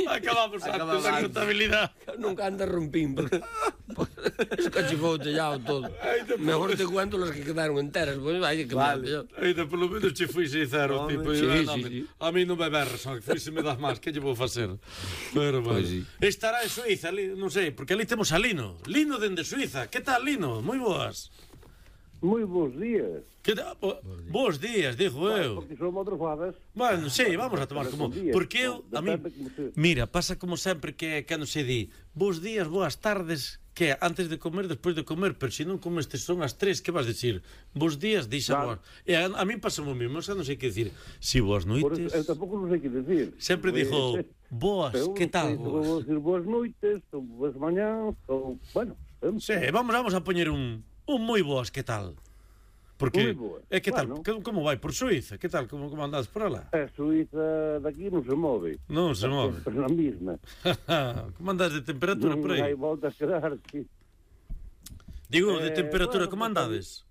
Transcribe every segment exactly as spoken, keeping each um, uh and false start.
Acabamos antes da contabilidade. Nunca anda rompín, porque escachifou o tellado todo. Mejor te cuento los que quedaron enteras, pois vai que vale. Ainda polo menos che fui sincero, tipo, sí, eu, sí, no, sí. A mí non me berres, fui se me das máis, que lle vou facer? Pero, bueno. Pues sí. Estará en Suiza, ali, non sei, porque ali temos a Lino. Lino dende Suiza. Que tal, Lino? Moi boas. Moi bons días. Que ta... Bo... Bos días, dixo eu. Porque son madrugadas. Bueno, sí, vamos a tomar como... Porque eu, a mí... Mira, pasa como sempre que cando se di bos días, boas tardes, que antes de comer, despois de comer, pero se non comes son as tres, que vas dicir? Bos días, dixa claro. Boas. E a, a mí pasa o mesmo, xa non sei que dicir. Si boas noites... Eu tampouco non sei que dicir. Sempre dixo, boas, que tal? Vou dicir boas noites, ou boas mañás, ou... Bueno... Sí, vamos, vamos a poñer un... Un moi boas, que tal? Porque é que tal, bueno. Como vai por Suiza? Que tal, como, como andades por alá? A Suiza daqui non se move. Non se move. É na mesma. Como andades de temperatura non por aí? Non hai volta a quedar, sí. Digo, de eh, temperatura, bueno, como andades?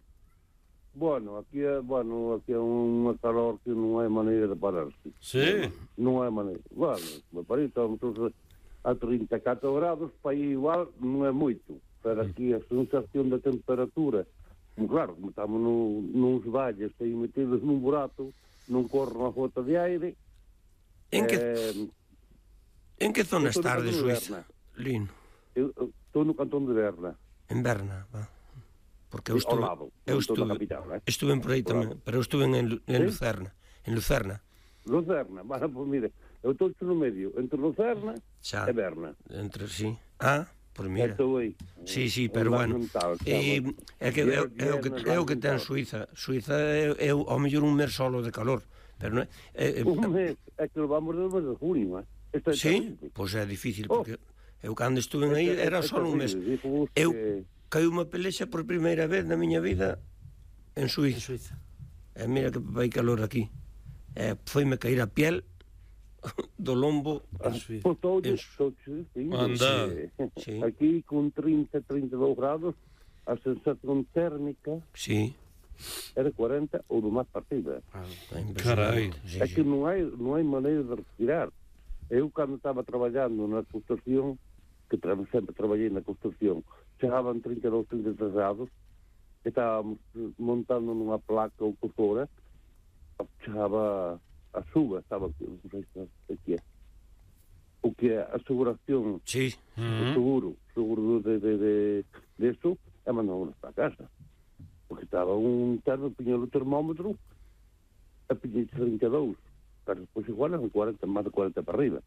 Bueno, aquí é, bueno, aquí é unha calor que non hai maneira de pararse. Sí? Non hai maneira. Bueno, me parece, estamos a trinta e catro grados, para aí igual non é moito. Pero aquí a sensación de temperatura, claro, como estamos no, nos valles aí metidos nun burato, non corre unha gota de aire. En que eh, en que zona estás de Suiza, Lino? Eu estou no cantón de Berna. En Berna, va. Porque eu Sí, estuve, lado, eu estuve, capital, eh? estuve por aí tamén, pero eu estuve en, en ¿Sí? Lucerna, en Lucerna. Lucerna, bueno, pues mire, eu estou no medio, entre Lucerna Xa. e Berna. Entre sí. Ah, por mira. Estou aí. Sí, sí, pero bueno. E é que é o que é o que ten Suiza. Suiza é, é ao mellor un mes solo de calor, pero non é, é, un mes, é que vamos desde de junio, eh. Este sí, pois pues é difícil porque oh. eu cando estuve aí era só un mes. Eu caí unha pelexa por primeira vez na miña vida en Suiza. En Suiza. E mira que vai calor aquí. E foime cair a piel do lombo en Suiza. Pues todo, en... todo, sí, anda. Sí. Aquí con trinta, trinta e dous grados, a sensación térmica sí. é de cuarenta ou do máis partida. Ah, carai. É que non hai, non hai maneira de respirar. Eu, cando estaba traballando na construcción, que tra sempre traballei na construcción, chegaban trinta e dous, trinta e tres grados, e estábamos montando nunha placa ou por fora, chegaba a suba, estaba non sei se é o que é a aseguración, sí. o seguro, seguro de, de, de, de eso, é mandamos para casa. Porque estaba un termo, piña o termómetro, a piña trinta e dous, pero depois igual eran cuarenta, máis de cuarenta para arriba.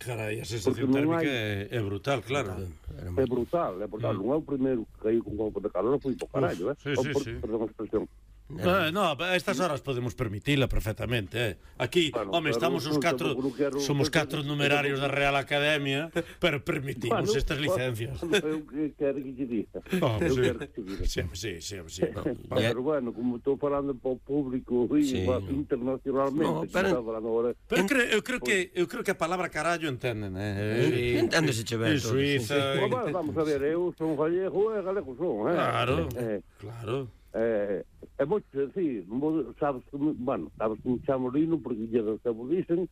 Carai, a sensación térmica hai... é, é brutal, claro. É brutal, é brutal. Mm. Non é o primeiro que caiu con golpe de calor, foi por caralho, eh? Sí, sí, por, sí. Perdón a expresión. Eh, no, a estas horas podemos permitila perfectamente, eh. Aquí, bueno, home, estamos os catro, somos catro numerarios da Real Academia, pero permitimos bueno, estas licencias. Eu quero que te diga. Oh, eu sí. quero que te diga. Sí, sí, sí, sí. No, pero bueno, como estou falando para o público sí. internacionalmente, no, pero, ahora, pero eu, creo, eu creo que eu creo que a palabra carallo entenden, eh. Sí, enténdese chever. En Suiza. Sí. Bueno, vamos a ver, eu son gallego e galego son, eh. Claro. Eh, claro. Eh, é moito sencillo, sabes que, bueno, sabes que me chamo Lino porque lle do que vos dicen,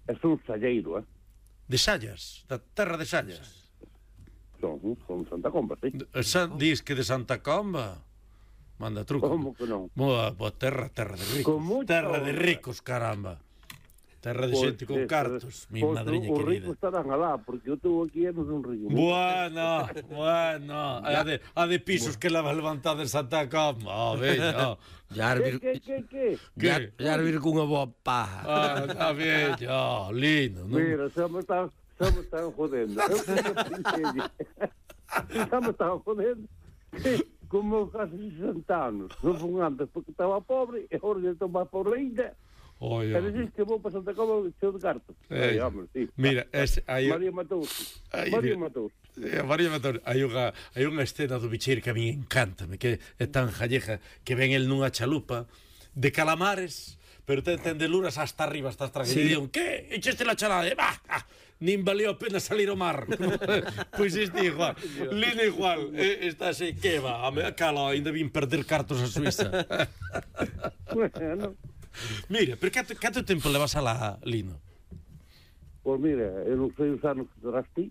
é son salleiro, eh? De Sallas, da terra de Sallas. Son, son Santa Comba, sí. San, dis que de Santa Comba. Manda truco. Como que non? Boa, boa terra, terra de ricos. Terra de ricos, caramba. Terra de xente con cartos, mi madriña querida. Os ricos estarán alá, porque eu estou aquí e non son rico. Bueno, bueno. A de, a de pisos que leva levantada en Santa Comba. Oh, bello. Que, que, que, que? Ya, ya vir cunha boa paja. Ah, está bello, lindo. ¿No? Mira, xa me están, xa me están jodendo. Eu que me xa me están jodendo. Como casi sesenta anos. Non fun antes porque estaba pobre, e agora estou máis pobre ainda. Oye, e dices que vou para Santa Comba cheo de cartos. Eh, Ay, hombre, sí. Mira, es, hay... María Matous. María Matous. Eh, María Matous. Hai unha, hai unha escena do Bicheiro que a mí encántame, que é tan jalleja, que ven el nunha chalupa de calamares, pero ten, ten de luras hasta arriba, hasta atrás. Sí. E digo, que? Echaste la chalada? E, bah, ah, nin valeu a pena salir ao mar. Pois este igual. Lino igual. Eh, está así, que va? A cala, ainda vin perder cartos a Suiza. Bueno... Mira, pero canto, canto tempo levas alá, Lino? Pois mira, eu non sei os anos que terás ti,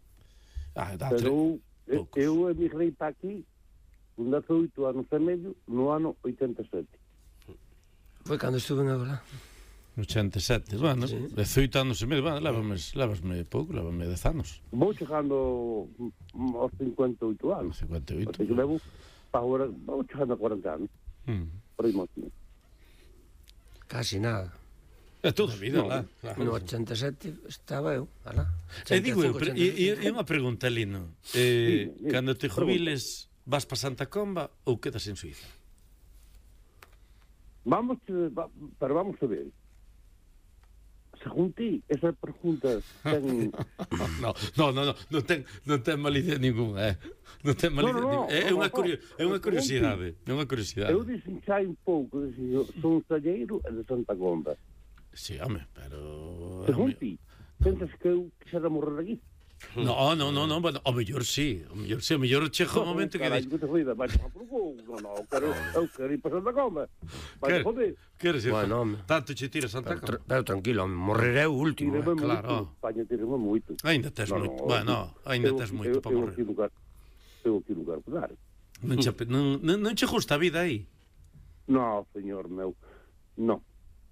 Ah, dá pero tre... eu, eu emigrei para aquí con dezoito anos e medio no ano oitenta e sete. Foi cando estuve en Agola. ochenta e sete, bueno, Sí. dezoito anos e medio, bueno, levasme, levasme pouco, levasme dez anos. Vou chegando aos cincuenta e oito anos. cincuenta e oito. Así que levo para agora, vou chegando a cuarenta anos. Mm. Por aí máis. Casi nada. É toda a vida, No. lá. Claro. No ochenta e sete estaba eu, alá. E digo eu, pero, e, e unha pregunta, Lino. Eh, Sí, sí, cando te jubiles, vas para Santa Comba ou quedas en Suiza? Vamos, va, pero vamos a ver. Según ti, esa pregunta ten... No, no, no, no, non ten, non ten malicia ninguna, eh. Non ten malicia No, no, no, ninguna. É no, unha no, curio, é unha no, curiosidade, é unha curiosidade. Eu dixen xa un pouco, dixen, son salleiro e de Santa Comba. Sí, home, pero... Según ti, pensas que eu quixera morrer aquí? No, no, no, no, bueno, o mellor sí, o mellor sí, o mellor chega o momento que Carai, dis... que te joida, vai tomar por culo. No, no, quero, eu quero ir para Santa Comba. Vai Quer- joder. Queres ir? Bueno, home. Tanto che tira Santa Pero, Comba. tra- pero tranquilo, morreré o último. Tíreme Eh. claro. moito, España tíreme moito. Ainda tes No, moito, no, bueno, ainda eu- tes moito eu- para eu morrer. aquí lugar, eu aquí lugar para dar. Non che, non, non, non che gusta a vida aí? No, señor meu, no.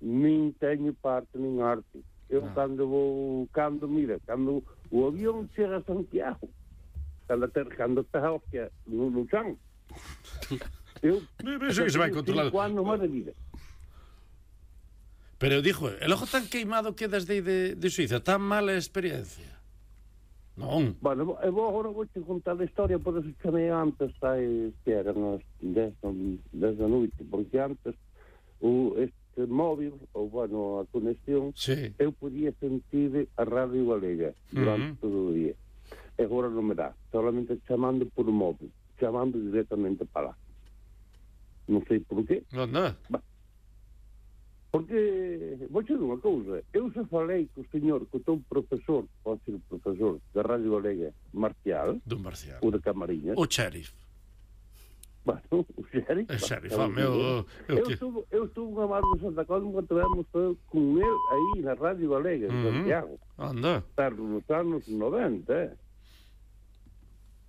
Nin teño parte, nin arte. Eu Ah. cando vou, cando, mira, cando o avión chega a Santiago, cando te, cando te hostia no, no chan, eu... Eso que se vai controlando. Cinco anos máis de vida. Pero dixo, el ojo tan queimado quedas de, de, de Suiza, tan mala experiencia. Non. Bueno, eu vou, agora vou te contar a historia, por eso chamei antes, aí, que eran as dez da noite, porque antes o, este móvil, ou, bueno, a conexión, Sí. eu podía sentir a Radio Galega durante Uh-huh. todo o día. E agora non me dá, solamente chamando por móvil, chamando directamente para lá. Non sei por qué. Non, non. Porque, vou te dizer unha cousa, eu se falei co señor, co teu profesor, pode ser o profesor da Radio Galega, Marcial, Dun Marcial. o de Camariñas, O sheriff. bueno, o xerif, O sheriff, bah, home, o... o eu que... estuve, eu estuve unha barra de Santa Colma cando tivemos con ele aí na Radio Galega, en Ujú. Santiago, Anda, tarde nos anos noventa, eh?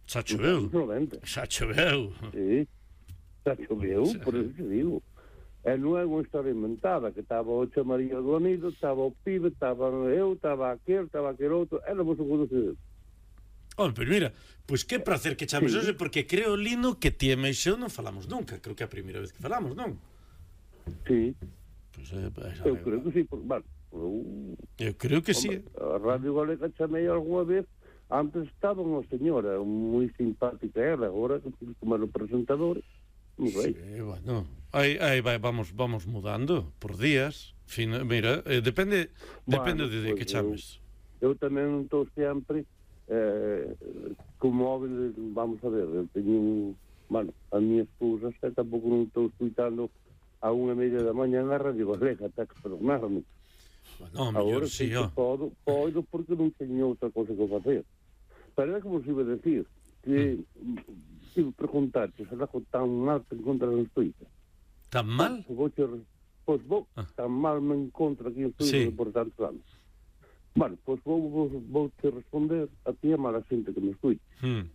xa Nos choveu. anos noventa. Xa choveu. Sí, xa choveu, por eso te digo. E non é unha historia inventada, que estaba o chamarillo do anido, estaba o pibe, estaba eu, estaba aquel, estaba aquel outro, éramos o conocido. Home, pero mira, pois pues que prazer que chames Sí. hoxe, porque creo, Lino, que ti e Meixo non falamos nunca. Creo que é a primeira vez que falamos, non? Sí, Pois, eh, pues, eu creo que sí, por, bueno, eu, eu creo que sí. a Radio Galega chamei algunha vez, antes estaba unha señora moi simpática era, agora como era o presentador, non sei. Sí, bueno, aí, aí vai, vamos, vamos mudando por días. Fin, mira, eh, depende depende Bueno, de, de pois que eu- chames. Eu tamén non estou sempre eh, con móvil, vamos a ver, eu teño un, bueno, a miña esposa xa tampouco non estou escuitando a unha e media da mañá na Radio Galega, ata que perdonarme. Bueno, mellor Agora sí, sí que ó. podo, podo porque non teño outra cosa que facer. Pero é como se iba a decir, que mm. iba a preguntarte, se algo tan mal te encontras en Suiza. Tan mal? Pois vou, te- pois vou, Ah. tan mal me encontro aquí en Suiza Sí. por tantos anos. Bueno, pois vou, vou, vou te responder a ti e a mala xente que me escuite. Hmm.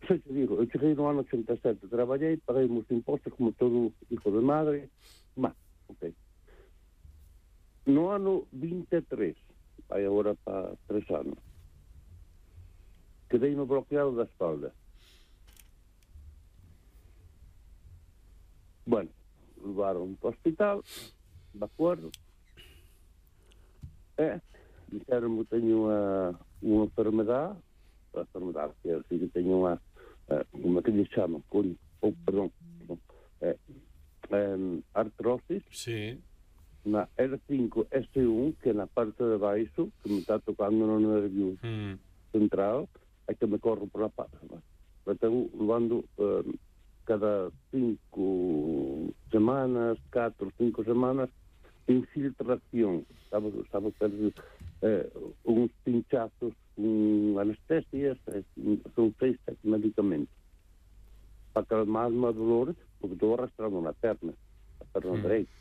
Sei te digo, eu cheguei no ano ochenta e sete, traballei, paguei os impostos como todo hijo de madre, má, ok. No ano vinte e tres, vai agora para tres anos, quedei no bloqueado da espalda. Bueno, levaron para o hospital, de acordo, e dixeron que teño unha, unha enfermedade, a enfermedade que é así, que teño unha, eh, como é que lle chama, con, oh, perdón, perdón eh, eh, artrosis Sí. na R cinco S uno, que é na parte de baixo, que me está tocando no nervio Hmm. central, é que me corro por la pata. Eu tengo levando eh, cada cinco semanas, catro, cinco semanas, infiltración, sabes, sabes, eh, uns pinchazos con anestesias, eh, son seis sete medicamentos para calmar os dolores, porque estou arrastrando na perna, a perna Mm. dereita.